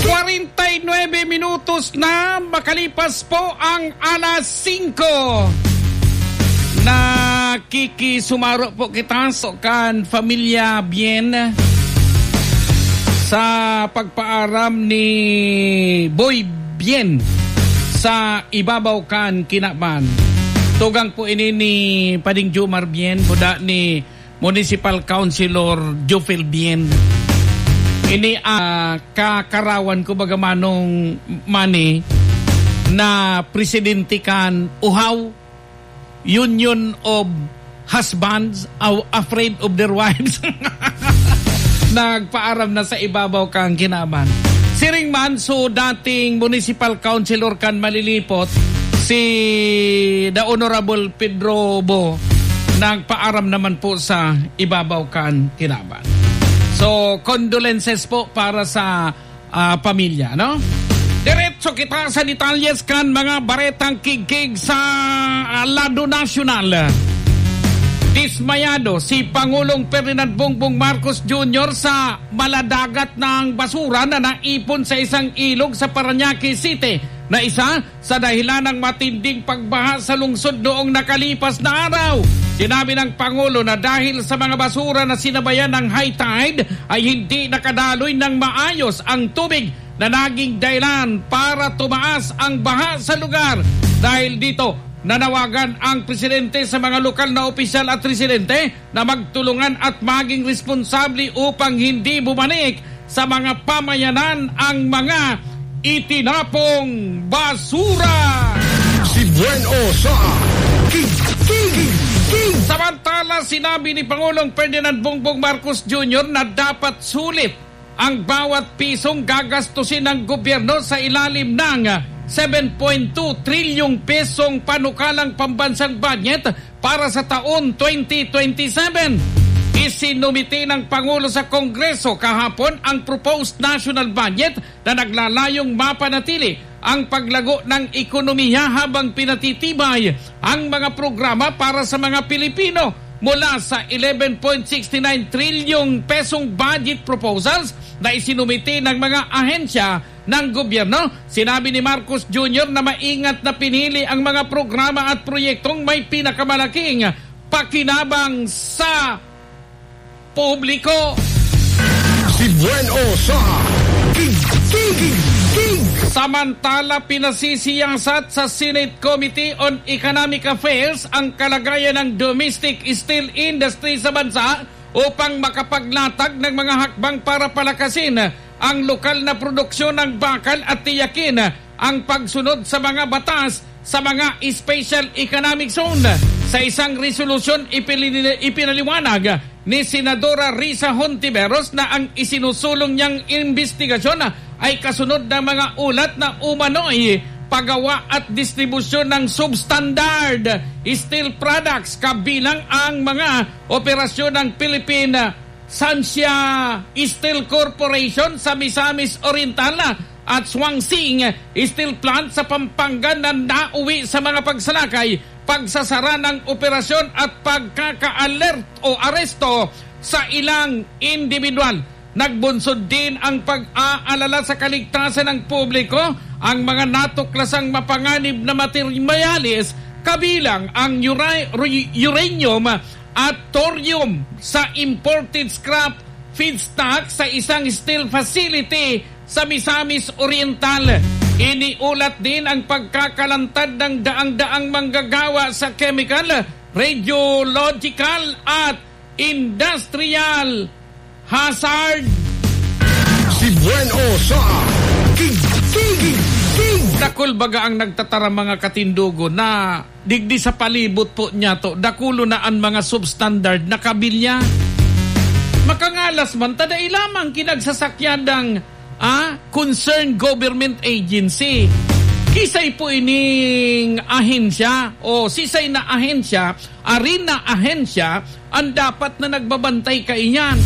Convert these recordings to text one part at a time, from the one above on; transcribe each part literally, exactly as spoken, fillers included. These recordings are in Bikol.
Kwarenta y nuebe minutos na makalipas po ang alas singko. Nakikisumaro po kita so kan Familia Bien sa pagpaaram ni Boy Bien sa Ibabaw kan Kinaban. Tugang po ini ni Pading Jomar Bien, buda ni Municipal Councilor Jofil Bien. Ini, ah, kakarawan ko baga manong Manny na presidente kan Uhaw, Union of Husbands Aw-, Afraid of Their Wives. Nagpaaram na sa Ibabaw kan Kinaban. Siring man, so dating municipal councilor kan Malilipot, si The Honorable Pedro Bo, nagpaaram naman po sa Ibabaw kan Kinaban. So, condolences po para sa, ah, pamilya, no? Diretso kita sa detalyes kan mga baretang kigkig sa, ah, lado nasyonal. Dismayado si Pangulong Ferdinand Bongbong Marcos Junior sa maladagat na basura na naipon sa isang ilog sa Parañaque City na isa sa dahilan ng matinding pagbaha sa lungsod noong nakalipas na araw. Sinabi ng Pangulo na dahil sa mga basura na sinabayan ng high tide, ay hindi nakadaloy ng maayos ang tubig na naging dahilan para tumaas ang baha sa lugar. Dahil dito, nanawagan ang presidente sa mga lokal na opisyal at residente na magtulungan at maging responsable upang hindi bumalik sa mga pamayanan ang mga itinapong basura. Si Bueno sa King, King, King. Samantala, sinabi ni Pangulong Ferdinand Bongbong Marcos Junior na dapat sulit ang bawat pisong gagastusin ng gobyerno sa ilalim ng seven point two trilyong pesong panukalang pambansang budget para sa taon twenty twenty-seven. Isinumite ng Pangulo sa Kongreso kahapon ang proposed national budget na naglalayong mapanatili ang paglago ng ekonomiya habang pinatitibay ang mga programa para sa mga Pilipino. Mula sa eleven point six nine trilyong pesong budget proposals na isinumite ng mga ahensya ng gobyerno, sinabi ni Marcos Junior na maingat na pinili ang mga programa at proyektong may pinakamalaking pakinabang sa publiko. Si Bueno sa King, King, King. Samantala, pinasisiyasat sa Senate Committee on Economic Affairs ang kalagayan ng domestic steel industry sa bansa upang makapaglatag ng mga hakbang para palakasin ang lokal na produksyon ng bakal at tiyakin ang pagsunod sa mga batas sa mga special economic zone. Sa isang resolusyon, ipinili-, ipinaliwanag ni Senadora Risa Hontiveros na ang isinusulong niyang imbestigasyon ay kasunod ng mga ulat na umano'y paggawa at distribusyon ng substandard steel products, kabilang ang mga operasyon ng Philippine Sancia Steel Corporation sa Misamis Oriental at Suangsing Steel Plant sa Pampanga na nauwi sa mga pagsalakay, pagsasara ng operasyon at pagkaka-alert o aresto sa ilang individual. Nagbunsod din ang pag-aalala sa kaligtasan ng publiko ang mga natuklasang mapanganib na materyales, kabilang ang ura-, ru-, uranium at thorium sa imported scrap feedstock sa isang steel facility sa Misamis Oriental. Iniulat din ang pagkakalantad ng daang-daang manggagawa sa chemical, radiological at industrial hazard. Si Bueno sa King, King, King. Dakul baga ang nagtataram, mga katindogo, na digdi sa palibot po niyato, dakulo na an mga substandard na kabilya. Makangalas man ta, dai lamang kinagsasakyan ng, ah, concerned government agency. Kisay po ining ahensya o sisay na ahensya, arin na ahensya, ang dapat na nagbabantay kaiyan.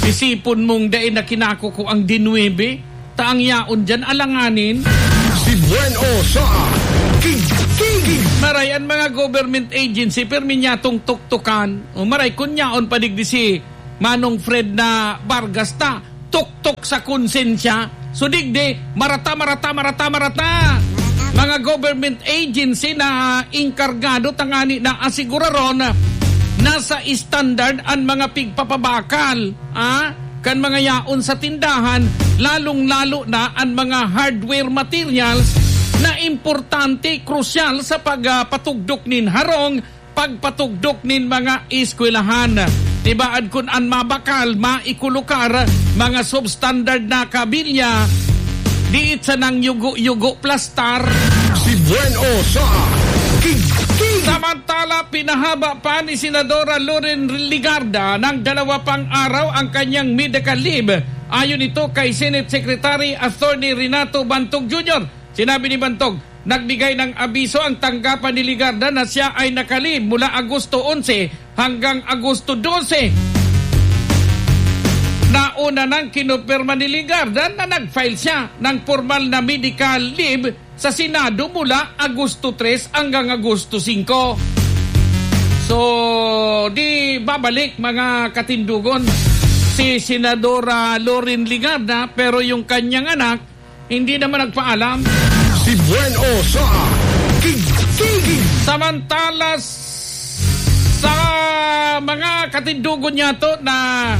Isipon mong dai na kinakukuang dinuwebe, ta ang yaon diyan alanganin. Si Bueno sa King, King. Maray an mga government agency, pirmi niyatong tuktukan. O maray, kun yaon pa digdi si Manong Fred na Vargas ta, tuktok sa konsensya. So, digdi, marata, marata, marata, marata. Mga government agency na inkargado tangani na asiguraron na sa standard an mga pigpapabakal, ah, kan mga yaon sa tindahan, lalong-lalo na an mga hardware materials na importante, krusyal sa pagpatugdok nin harong, pagpatugdok nin mga eskwelahan. Tibaad kun an mabakal, maikulukar, mga substandard na kabilya, diit sa nang yugo-yugo plastar. Si Buen O sa Kigkig. Samantala, pinahaba pa ni Senadora Loren Legarda ng dalawa pang araw ang kanyang medical leave. Ayon ito kay Senate Secretary Attorney Renato Bantog Junior. Sinabi ni Bantog, nagbigay ng abiso ang tanggapan ni Legarda na siya ay nakalib mula Agosto onse hanggang Agosto dose. Nauna nang kinupirma ni Legarda na nag-file siya ng formal na medical leave sa Senado mula Agosto tres hanggang Agosto singko. So, di babalik, mga katindugon, si Senadora Loren Legarda, pero yung kanyang anak, hindi naman nagpaalam. Si Buen O sa Kigkig. Samantala, sa mga katindugon niya to na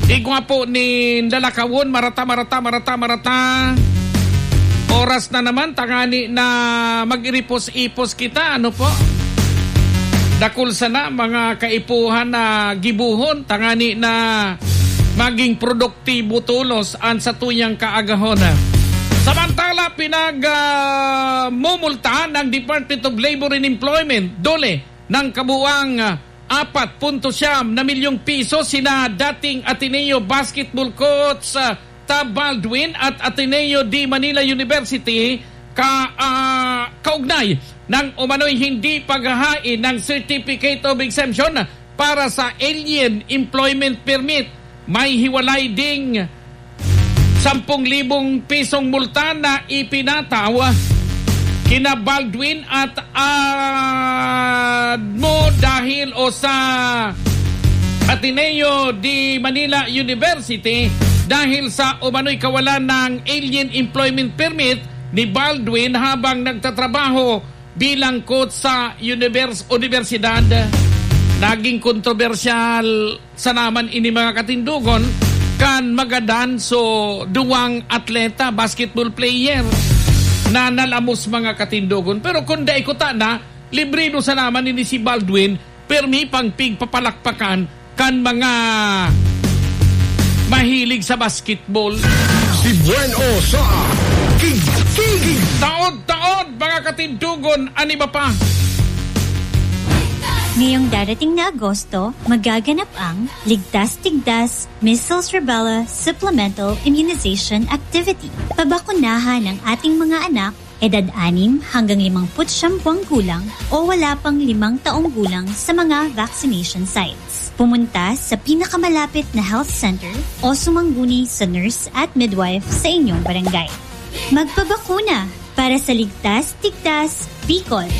igwa po ni lalakawon, marata, marata, marata, marata. Oras na naman, tangani na mag-iripos-ipos kita, ano po? Dakul sana mga kaipuhan na gibuhon, tangani na maging produktibo tolos an satuyang kaagahon. Samantala, pinag, ah, mumultahan ng Department of Labor and Employment, DOLE, ng kabuang, ah, apat punto siyam na milyong piso sina dating Ateneo basketball coach, ah, Tab Baldwin at Ateneo de Manila University ka, ah, kaugnay ng umano'y hindi paghahain ng Certificate of Exemption para sa Alien Employment Permit. May hiwalay ding sampung libong pisong multa na ipinataw kina Baldwin at Admo dahil o sa Ateneo de Manila University dahil sa umano'y kawalan ng Alien Employment Permit ni Baldwin habang nagtatrabaho bilang coach sa univers-, universidad. Naging kontrobersyal sana man ini, mga katindogon, kan magadan so duwang atleta, basketball player, na nalamos, mga katindogon. Pero kun dai kuta na, libre no sana man ini si Baldwin, permi pang pigpapalakpakan kan mga mahilig sa basketball. Si Buen O sa Kigkig. Taod-taod, mga katindogon, an iba pa. Ngayong darating na Agosto, magaganap ang Ligtas Tigdas Measles Rubella Supplemental Immunization Activity. Pabakunahan ang ating mga anak, edad anim hanggang limangput siyam buwang gulang o wala pang limang taong gulang sa mga vaccination sites. Pumunta sa pinakamalapit na health center o sumangguni sa nurse at midwife sa inyong barangay. Magpabakuna para sa Ligtas Tigdas Bicol.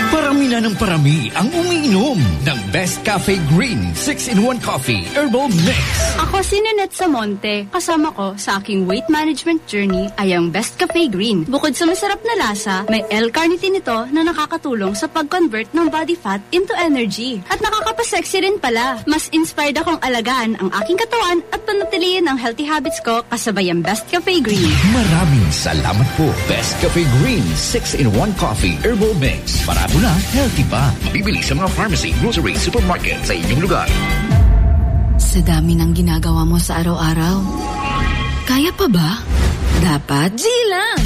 Parami na ng parami ang umiinom ng Best Cafe Green six-in-one Coffee Herbal Mix. Ako si Ninette Samonte. Kasama ko sa aking weight management journey ay ang Best Cafe Green. Bukod sa masarap na lasa, may L-carnitine ito na nakakatulong sa pag-convert ng body fat into energy. At nakakapasexy rin pala. Mas inspired akong alagaan ang aking katawan at panatilihin ang healthy habits ko kasabay ang Best Cafe Green. Maraming salamat po, Best Cafe Green six-in-one Coffee Herbal Mix. Barato na, healthy pa. Mabibili sa mga pharmacy, grocery, supermarket sa inyong lugar. Sa dami ng ginagawa mo sa araw-araw, kaya pa ba? Dapat G lang!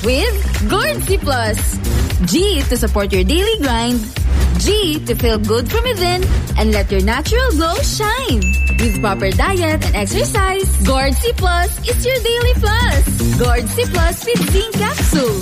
With Gourd C Plus. G to support your daily grind. G to feel good from within and let your natural glow shine. With proper diet and exercise, Gourd C Plus is your daily plus. Gourd C Plus with zinc capsule.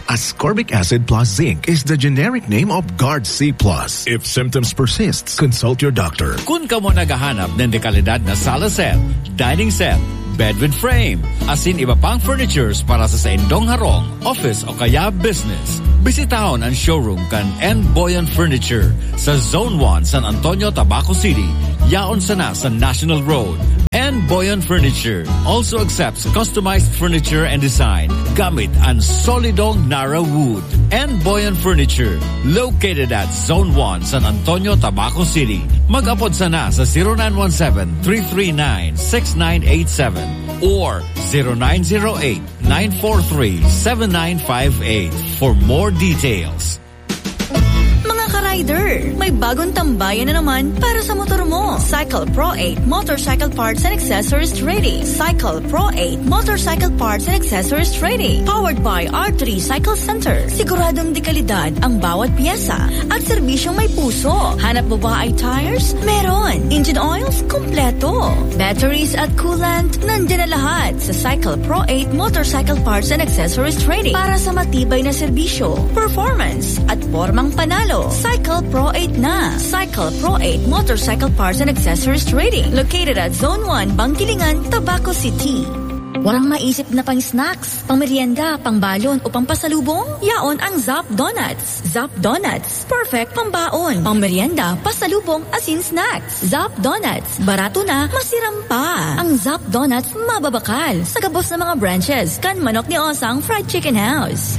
Ascorbic acid plus zinc is the generic name of Guard C plus. If symptoms persist, consult your doctor. Kun kamo naghahanap nin dekalidad na sala set, dining set, bed with frame, asin iba pang furnitures para sa saindong harong, office o kaya business. Bisitahon an showroom kan N Boyan Furniture sa Zone one, San Antonio, Tabaco City. Yaon sana sa National Road. N Boyan Furniture also accepts customized furniture and design gamit an solidong Nara Wood. N Boyan Furniture, located at Zone one, San Antonio, Tabaco City. Mag-apod sana sa zero nine one seven, three three nine, six nine eight seven or zero nine zero eight, nine four three, seven nine five eight for more details. Mga ka-rider, may bagong tambayan na naman para sa motor mo. Cycle Pro eight Motorcycle Parts and Accessories Trading. Cycle Pro eight Motorcycle Parts and Accessories Trading. Powered by R three Cycle Center. Siguradong dekalidad ang bawat pyesa at serbisyong may puso. Hanap mo ba ay tires? Meron. Engine oils? Kompleto. Batteries at coolant? Nandiyan na lahat sa Cycle Pro eight Motorcycle Parts and Accessories Trading para sa matibay na serbisyo, performance, at pormang panalo. Cycle Pro eight na. Cycle Pro eight Motorcycle Parts and Accessories Trading, located at Zone one, Bangkilingan, Tabaco City. Warang maisip na pang-snacks, pang-merienda, pang-balon o pang-pasalubong? Yaon ang Zap Donuts. Zap Donuts, perfect pambaon, pang-merienda, pasalubong, asin snacks. Zap Donuts, barato na, masiram pa. Ang Zap Donuts mababakal sa gabos na mga branches kan Manok ni Osang Fried Chicken House.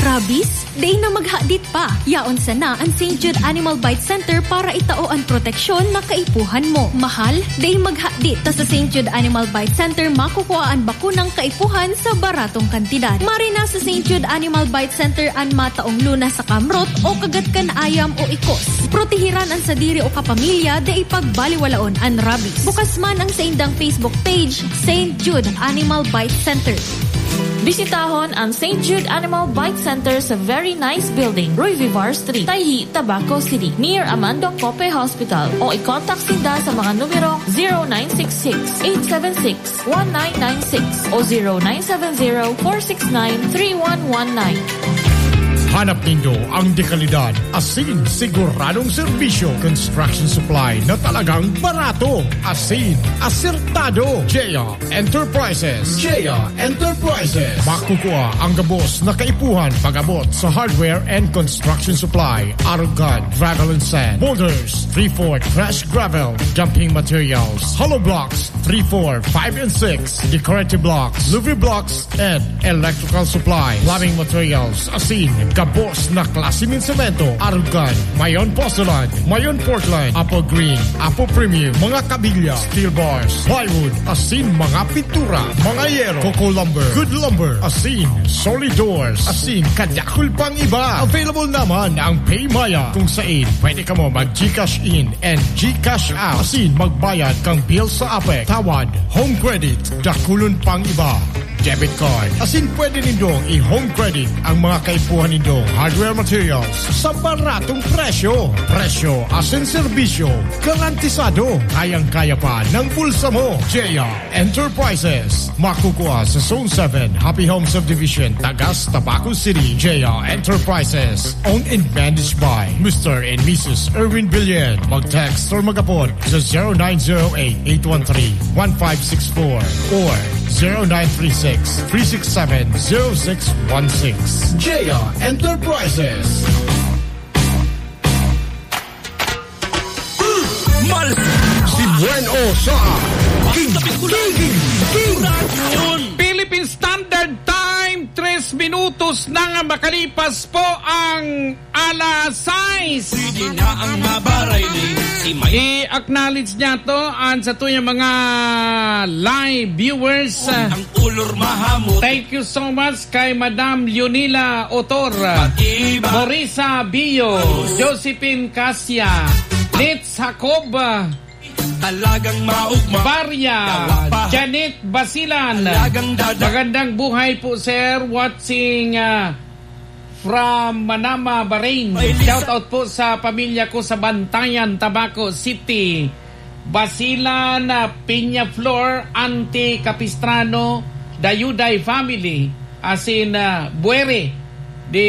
Rabies? Dai na maghadit pa. Yaon sana an Saint Jude Animal Bite Center para itao an proteksyon na kaipuhan mo. Mahal? Dai maghadit, ta sa Saint Jude Animal Bite Center makukua an bakunang kaipuhan sa baratong kantidad. Maray na sa Saint Jude Animal Bite Center an mataong lunas sa kamrot o kagat kan ayam o ikos. Protehiran an sadiri o kapamilya, dai pagbaliwalaon an rabies. Bukas man ang saindang Facebook page, Saint Jude Animal Bite Center. Bisitahon ang Saint Jude Animal Bite Center sa Very Nice Building, Roy Vivar Street, Tayhi, Tabaco City, near Amando Cope Hospital, o i-contact sinda sa mga numerong zero nine six six, eight seven six, one nine nine six o zero nine seven zero, four six nine, three one one nine. Hanap nindo ang dekalidad, asin siguradong serbisyo, construction supply na talagang barato, asin asertado. J R Enterprises. J R Enterprises. Makukua ang gabos na kaipuhan pag-abot sa hardware and construction supply, arog kan gravel and sand, boulders, three four trash gravel, dumping materials, hollow blocks, three four, five and six, decorative blocks, louvre blocks, and electrical supply, plumbing materials, asin gabos na klase nin semento, arog kan mayon porcelain, mayon Portland, Apple Green, Apple Premium, mga kabilya, steel bars, plywood, asin mga pintura, mga yero, Coco Lumber, Good Lumber, asin solid doors, asin kadakul pang iba. Available naman ang PayMaya, kung sain pwede kamo mag-GCash in and GCash out, asin magbayad kan bill sa APEC, tawad, home credit, dakulon pang iba, debit card. Asin pwede nindong i-home credit ang mga kaipuhan nindong hardware materials sa baratong presyo. Presyo asin serbisyo garantisado. Kayang-kaya pa ng bulsa mo. J R Enterprises. Makukua sa Zone seven, Happy Home Subdivision, Tagas, Tabaco City. J R Enterprises. Owned and managed by Mister and Missus Erwin Billion. Mag-text or mag-apod sa zero nine zero eight, eight one three, one five six four or zero nine three six, three six seven, zero six one six. J R Enterprises. Mal- Si Buen O sa King, King, King, King. Philippine Standard Time, tres minutos na nga makalipas po ang alas sais. Sige na ang mabaray ni si May. I-acknowledge niya to ang sa tuyang mga live viewers. Ang ulor mahamot. Thank you so much kay Madam Leonila Otor, Pag-iba. Morisa Bio, Josephine Cassia, Nitz Jacob, Talagang maugma. Barya, Yawa pa. Janet Basilan. Talagang dada- Magandang buhay po, sir. Watching, ah, from Manama, Bahrain. Ay, Lisa. Shout out po sa pamilya ko sa Bantayan, Tabaco City. Basilan, ah, Peñaflor, Auntie Capistrano, Dayuday family, asin, ah, Buere. Di,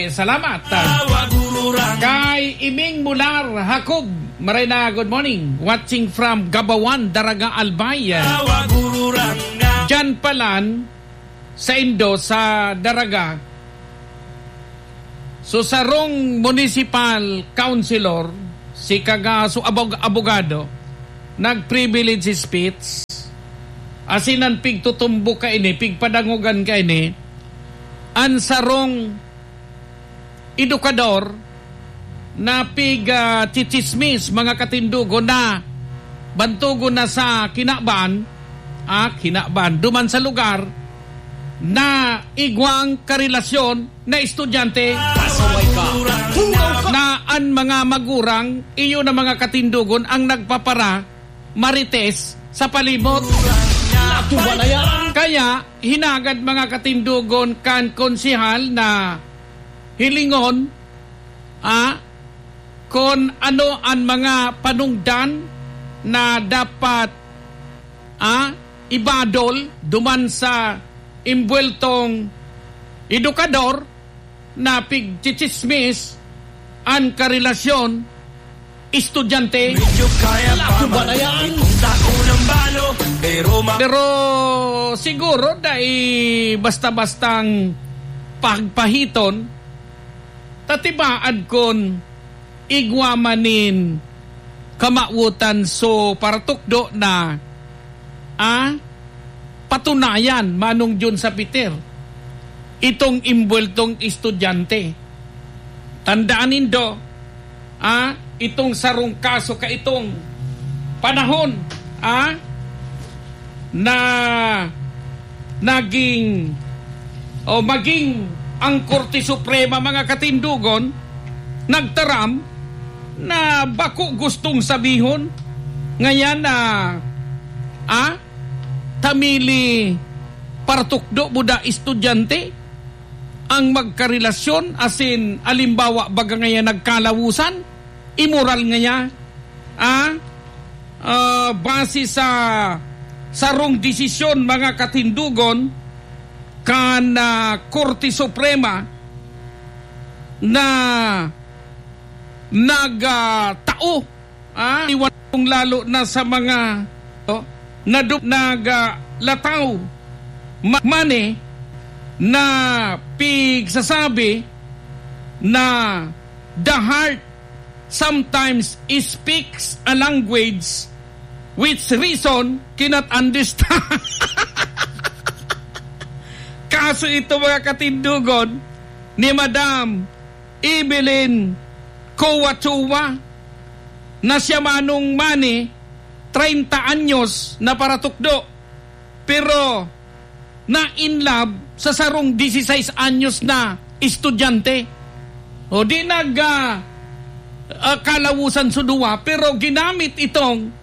salamat. Tawag ururang. Kay Iming Mular Jacob, maray na, good morning. Watching from Gabawan, Daraga, Albay. Tawag ururang. Diyan palan, sa indo, sa Daraga, so, sarong municipal councilor, si Kagaso Abog-, Abogado, nag-privilege speech, asin an pigtutumbok kaini, pigpadangogan kaini, an sarong edukador na pig, ah, chichismis, mga katindogon, na bantogon na sa kinaban, ah, kinaban, duman sa lugar na igwang karelasyon na estudyante. Pasaway ka. Hugaw ka. Na an mga magurang, iyo na mga katindogon, ang nagpapara marites sa palimot. Natuwa na yan. Kaya, hinagad, mga katindogon, kan konsehal na hilingon, ah, kun ano an mga panungdan na dapat, ah, ibadol duman sa imbuweltong edukador na pigchichismis an karelasyon estudyante. Medyo kaya pa. Lakuba na yan. Pero ma- Pero siguro dai basta-bastang pagpahiton, ta tibaad kun igwa man nin kamawotan so paratukdo na, ah, patunayan, Manong Jun sa Peter, itong imbuweltong estudyante. Tandaan nindo, ah, itong sarong kaso kaitong panahon, ah, na naging o maging ang Korte Suprema, mga katindogon, nagtaram na bako gustong sabihon ngayan na, ah, tamili paratukdo buda estudyante ang magkarelasyon, asin alimbawa baga ngayan nagkalawusan, imoral ngaya, ah, ah, base sa sarong desisyon, mga katindogon, kan, ah, Korte Suprema na nag, ah, tao, ah, iwan lalo na sa mga, oh, nadu-, nag, ah, lataw ma-, money na pigsasabi na the heart sometimes speaks a language which reason cannot understand. Kaso ito, mga katindogon, ni Madam Evelyn Coachua, na siya manong mani, treinta anyos na paratukdo, pero na in love sa sarong dieciséis anyos na estudyante. O di nag, ah, ah, kalawusan so duwa, pero ginamit itong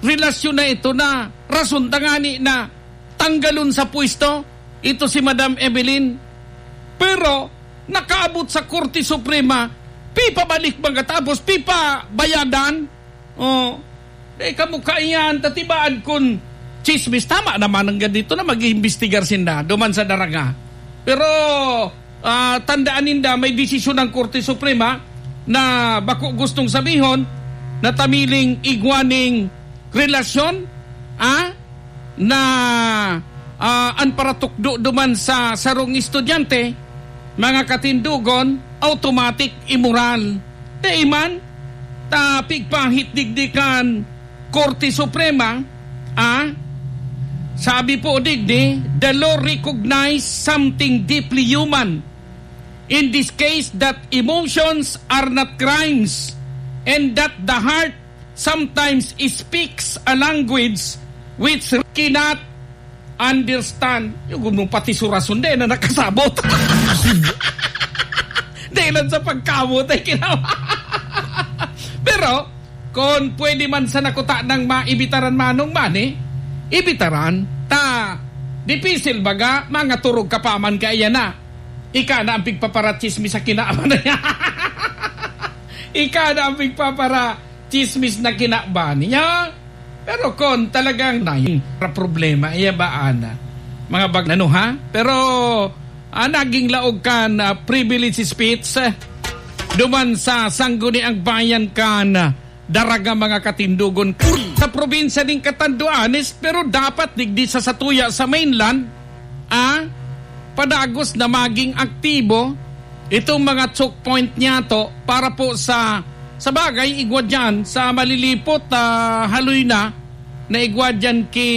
relasyon na ito na rason tangani na tanggalon sa pwesto ito si Madam Evelyn. Pero nakaabot sa Korte Suprema, pipabalik mga tapos pipabayadan. Oh, eh, kamo kaiyan, tatibaad kun chismis. Tama naman ang ganito na mag-iimbestigar sinda duman sa Daraga. Pero, ah, tandaan ninda, may desisyon ng Korte Suprema na bako gustong sabihon na tamiling igwaning relasyon, ah, na, ah, an paratukdo duman sa sarong estudyante, mga katindogon, automatic imoral. Dai man, ta pigpahit digdi kan Korte Suprema, ah, sabi po digdi, "The law recognized something deeply human in this case, that emotions are not crimes and that the heart sometimes speaks a language which cannot understand." Yung gumong pati surason din na nakasabot. Dahil lang sa pagkamot ay kinawa. Pero, kung pwede man sa nakuta ng maibitaran manong mani, ibitaran. Ta, dipisil baga, mga turog ka pa man kaya na. Ika na ang pigpaparatsismis sa kinaaman na yan. Ika na ang pigpapara chismis na kinaban niya. Pero kon talagang na yung problema, iya ba, ana? Mga bag-, ano, ha? Pero, ah, naging laog kan, ah, privilege speech, eh, duman sa Sangguniang Bayan kan, ah, Daraga, mga katindogon, sa probinsya nin Catanduanes, pero dapat digdi sa satuya sa mainland, ah, padagos na maging aktibo itong mga choke point niyato para po sa, sa bagay, igwa dyan sa malilipot, ah, haloy na, na igwa dyan ki